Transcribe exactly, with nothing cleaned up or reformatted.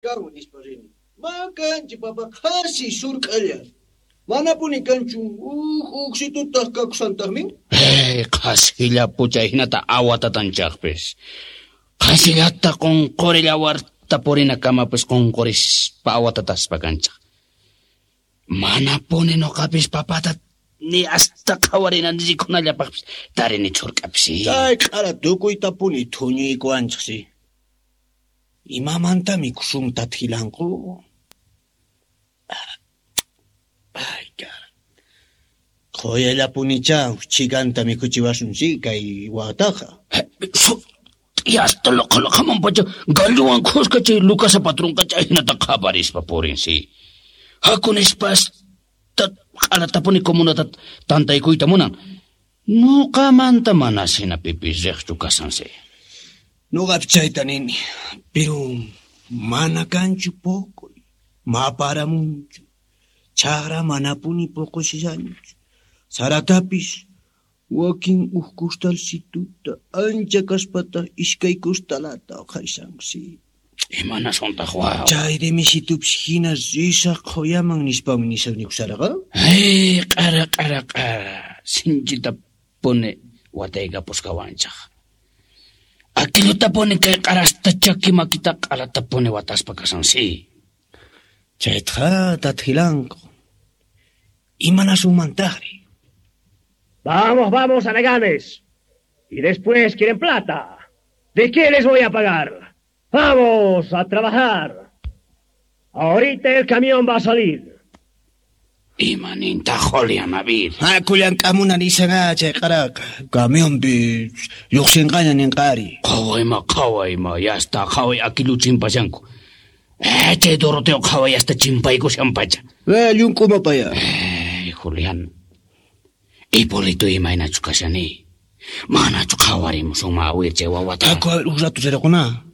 Kanwan nispa rini. Makanchi papa qhasi surk'alla. Manapuni kanchu uj uqsitutaq kakusantaqmi. Hey, qhasilla pucha hinata awatatanchaqpis. Qhasillata qunqurilla warta purina kamapis qunqurispa awatataspa kanchaq. Manapuni nuqapis papata ni hasta qhawarina rikunallapaqpis tarini churk'apis. Chay q'ara tukuytapuni thuñiykuwanchaqsi. Imamanta mikusun tathilanku? Ay, cara. Qhuyallapunicha chikanta mikhuchiwasun si kay wataqa. Hasta loqalaqaman pacha gallowan khuska chay Lucasa patronqa chayhinata qhaparispa purin si. Haku nispas q'alatapuni comunata tantaykuyta munan. Nuqamanta manas hina pipis riqchu kasan si. Nuqap chayta nini, pero mana kanchu poqoy, maparamunchu. Chaqra manapuni poqoshishanchu. Saratapis wakin uj kustalsituta ancha kaspata iskay kustalata uqharishansi. Imanasuntaq waw? Chay demisitupis hina risaq qhuyaman nispami nisaq nikusaraqa. Hey, q'ara q'ara q'ara sinchita puni wataykapusqawanchaq. Aquillutapuni kay q'arasta chaki makita q'alatapuni wataspa kasansi. Chaytaqa tathilanku. Imanasunmantaqri? Vamos, vamos, haraganes. Y después quieren plata. ¿De qué les voy a pagar? Vamos a trabajar. Ahorita el camión va a salir. Imaninta Julián Abir. Haku llank'amuna nisanga chay q'araqa. Camionpi lluqsinqaña ninqari. Qhawayma, qhawayma, yasta qhaway akilu chimpashanku. Eh, chay Doroteo qhaway hasta chimpaykushanpacha. Eh, llunk'umapaya. Eh, Julián. Hipólito imaynachu kashani. Manachu qhawarimusunma awir chay wawata. Haku a ver uj rato rirquna.